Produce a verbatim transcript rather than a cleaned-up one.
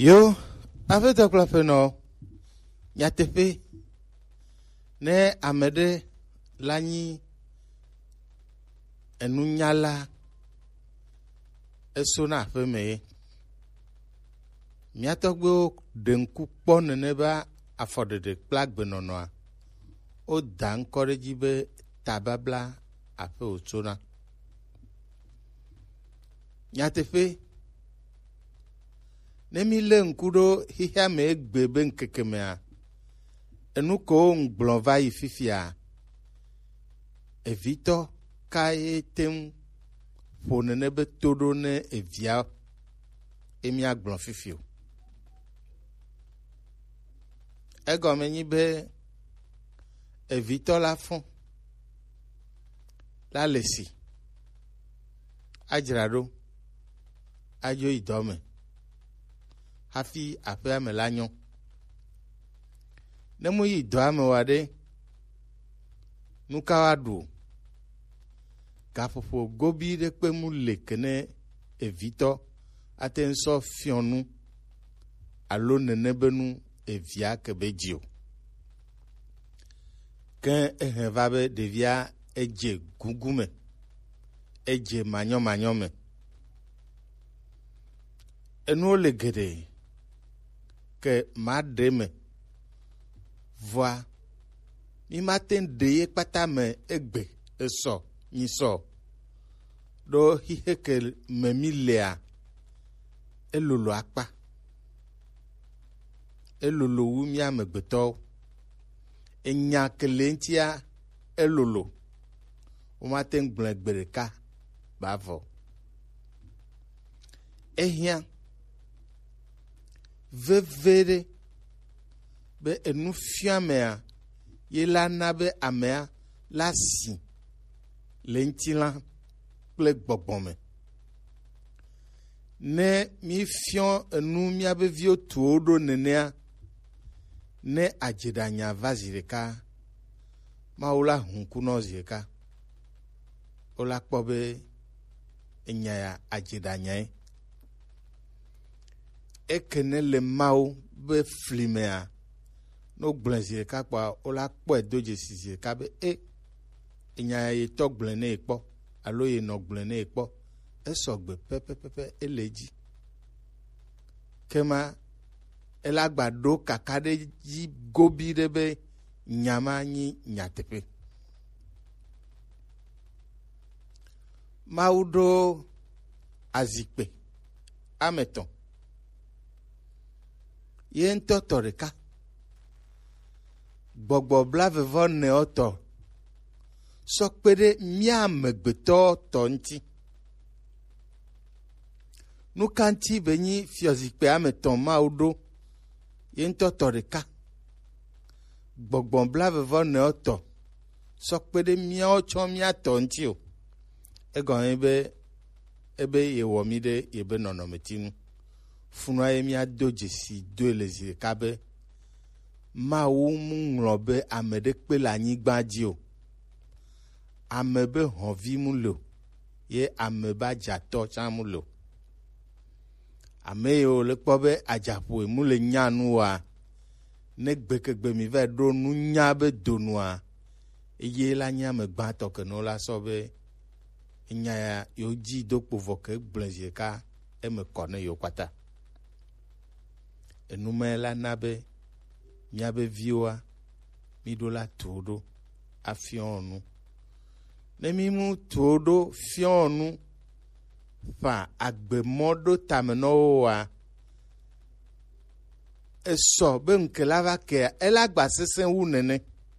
Yo, aƒetɔ kple aƒenɔ, nyateƒe, ne ame ɖe la nyi enunyala, eso na aƒeme ye. Mía tɔgbuiwo ɖe ŋku kpɔ nene be afɔɖeɖe kple agbenɔnɔa, woda ŋkɔ ɖe edzi be tababla aƒe wòtsona. Nyateƒe, ne mi lé ŋku ɖo xexea me egbe be ŋkeke mea, enu kewo ŋgblɔ va yi fifia, evitɔ ka ye te ŋu ƒo nene be to ɖo ne evia ye míagblɔ fifi o. Egɔme nyi be evitɔ la fɔ la le si adzra ɖo adzo yi dɔ me hafi aƒea me la nyɔ. Ne mu yi dɔa me wa ɖe, nu ka wa ɖu o? Gaƒoƒo gobi ɖe kpe mu le ke ne evitɔ ate ŋu sɔ fiɔ nu alo nene be nu evia ke be dzi o. Ke ehe va be ɖevia edze gugu me, edze manyɔmanyɔ me. Enuwo le geɖe ke maɖe me. Vɔa, mi mate ŋu ɖe ye kpata me egbe esɔ nyisɔ ɖo xixe ke me mi lea, elolo akpa. Elolo wu mía amegbetɔwo. Enya ke le ŋutia elolo. Womate ŋu gblɔe gbe ɖeka ba vɔ. Ehiã veviɖe be enufiamea ye la na be amea la si le ŋutilã kple gbɔgbɔ me. Ne mífiɔ enu míabe viwo tuwo ɖo nenea, ne adzeɖanya va zi ɖeka, Mawu la hu ŋku nɔ zi ɖeka. Wola kpɔ be enya ya adzeɖanyae. Eke ne le Mawu be fli mea, ne wogblɔe zi ɖeka kpɔa, wola kpɔe do dzesi zi ɖeka be e, enya ya ye tɔ gblɔe ne ye kpɔ alo ye nɔ gblɔe ne ye kpɔ. Esɔgbe pɛpɛpɛpɛ, ele edzi. Kema ela gba ɖo kaka ɖe dzi gobi ɖe be nya ma nyi nyateƒe. Mawu ɖo azikpe ame etɔ̃. Ye ŋutɔ tɔ ɖeka. Gbɔgbɔ blaeve vɔ enewo tɔ sɔ kpe ɖe mía amegbetɔ tɔ ŋuti. Nu ka ŋuti be nyi fiɔzikpui ame etɔ̃ Mawu ɖo ye ŋutɔ tɔ ɖeka? Gbɔgbɔ blaeve vɔ enewo tɔ sɔ kpe ɖe míawo tsɔ mía tɔ ŋuti o. Egɔme be ebe yewɔ mí ɖe yebe nɔnɔmeti nu. Funua ye míado dzesi doe le zi ɖeka be Mawu mu ŋlɔ be ame ɖe kpe le anyigba dzi o. Ame be hɔnvi mu le o, ye ame be adzatɔ tsã mu le o. Ame yiwo le kpɔ be adzaƒoe mu le nya nu oa, ne gbekegbe mi va ɖo nunya be donua, eye la nye ame gbãtɔ ke no la sɔ be enya ya yewo dzi do kpo vɔ ke gblẽ zi ɖeka eme kɔ ne yewo kpata. Enumɛ la na be míabe viwoa, míɖo la tuwo ɖo afiɔ nu. Ne mímu tuwo ɖo fiɔ nu ƒã agbemɔ ɖo tame nɔ wo oa, esɔ be ŋke la va kea, ela gba sesẽ wu nene.